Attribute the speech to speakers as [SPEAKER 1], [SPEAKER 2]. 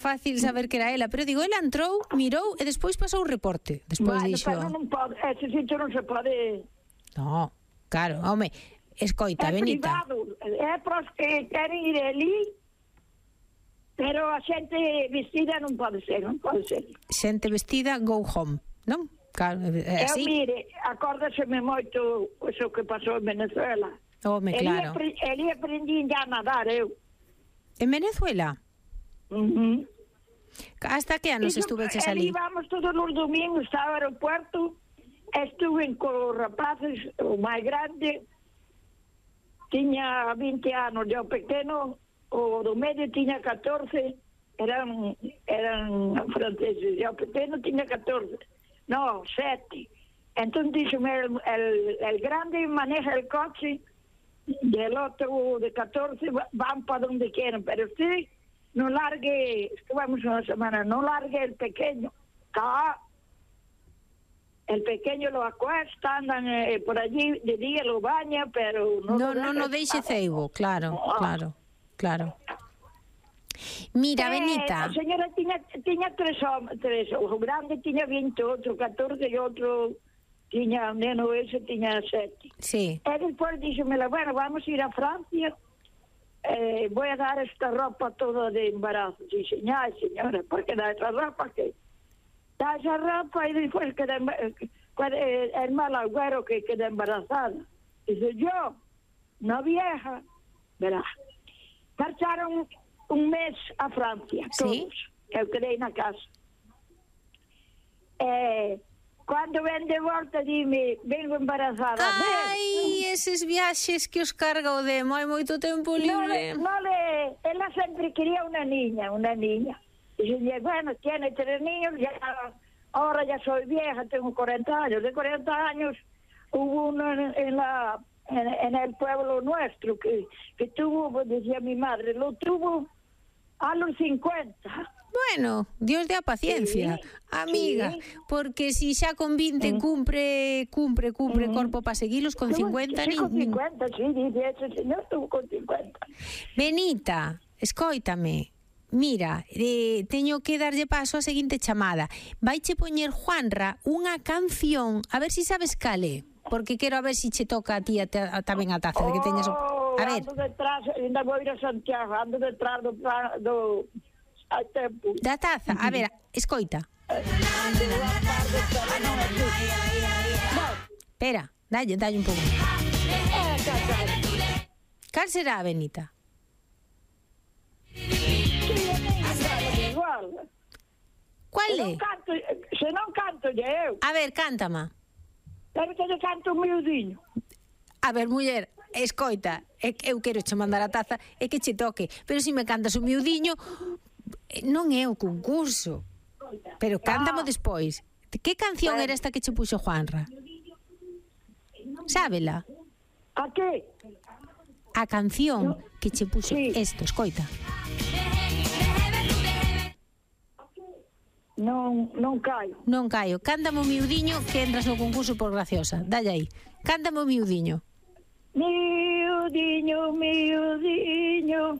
[SPEAKER 1] fácil saber que era ela, pero digo, ela entrou, mirou e despois pasou o reporte. Despois dixo...
[SPEAKER 2] Pero non pode, ese sitio non se pode...
[SPEAKER 1] No, claro, home, escoita, Benita.
[SPEAKER 2] É privado, é para os que queren ir ali, pero a xente vestida non pode ser, non pode ser.
[SPEAKER 1] Xente vestida, go home, non? Claro, é así.
[SPEAKER 2] Mire, acórdaseme moito o que pasou en Venezuela.
[SPEAKER 1] Home, claro.
[SPEAKER 2] Eli aprendí a nadar, eu.
[SPEAKER 1] En Venezuela? Hasta que anos estuveches ali?
[SPEAKER 2] Íbamos todos os domingos ao aeropuerto, estuve con os rapaces, o máis grande, tiña 20 anos, e o pequeno, o do medio tiña 14, eran franceses, e o pequeno tiña 14, no, 7. Entón díxome, el grande maneja el coche, e el otro de 14 van para donde quieran, pero usted no largue, estuvimos una semana, no largue el pequeño, el pequeño lo acuesta, andan por allí, de día lo baña, pero
[SPEAKER 1] no deixe ceibo, claro. Mira, Benita.
[SPEAKER 2] A señora tiña tres, o grande tiña 20, outro 14 e outro tiña, neno ese tiña 7.
[SPEAKER 1] Sí.
[SPEAKER 2] E despois díxomela, bueno, vamos a ir a Francia, voy a dar esta ropa toda de embarazo. Dice, ay, señora, ¿por qué da esa ropa? Da esa ropa y después queda el mal agüero que queda embarazada. Dice, yo, una vieja, verá, marcharon un mes a Francia, todos. Eu quedei na casa. Cando ven de volta, dime, vengo embarazada.
[SPEAKER 1] Ai, eses viaxes que os carga o demo, hai moito tempo libre.
[SPEAKER 2] Ela sempre quería una niña. Dice, bueno, tiene 3 niños, ya, ahora ya soy vieja, tengo 40 años. De 40 años hubo uno en el pueblo nuestro que tuvo, decía mi madre, lo tuvo a los 50.
[SPEAKER 1] Bueno, Dios dé a paciencia, amiga, porque si xa con 20 cumpre corpo para seguilos, con 50
[SPEAKER 2] sí, con 50, sí, dice ese señor estuvo con 50.
[SPEAKER 1] Benita, escóitame. Mira, teño que darlle paso a seguinte chamada. Vaiche poñer Juanra unha canción, a ver si sabes cale, porque quero a ver si che toca a ti tamén a taza de que teñas. A ver.
[SPEAKER 2] Ando detrás, ainda vou ir a Santiago, ando detrás do a tempo.
[SPEAKER 1] Da taza, a ver, escoita. Espera, dalle un pouco. Cal será, Benita? Cual é?
[SPEAKER 2] Se non canto eu.
[SPEAKER 1] A ver, cántama.
[SPEAKER 2] Pero que canto un miudiño.
[SPEAKER 1] A ver, muller, escoita, eu quero che mandar a taza e que che toque, pero se me cantas un miudiño, non é o concurso. Pero cántamo despois. Que canción era esta que che puxo Juanra? Sábela?
[SPEAKER 2] A que?
[SPEAKER 1] A canción que che puxo isto, escoita.
[SPEAKER 2] Non caio.
[SPEAKER 1] Non caio. Cántamo miudiño que entras no concurso por graciosa. Dalle aí. Cántamo miudiño.
[SPEAKER 2] Miudiño, miudiño,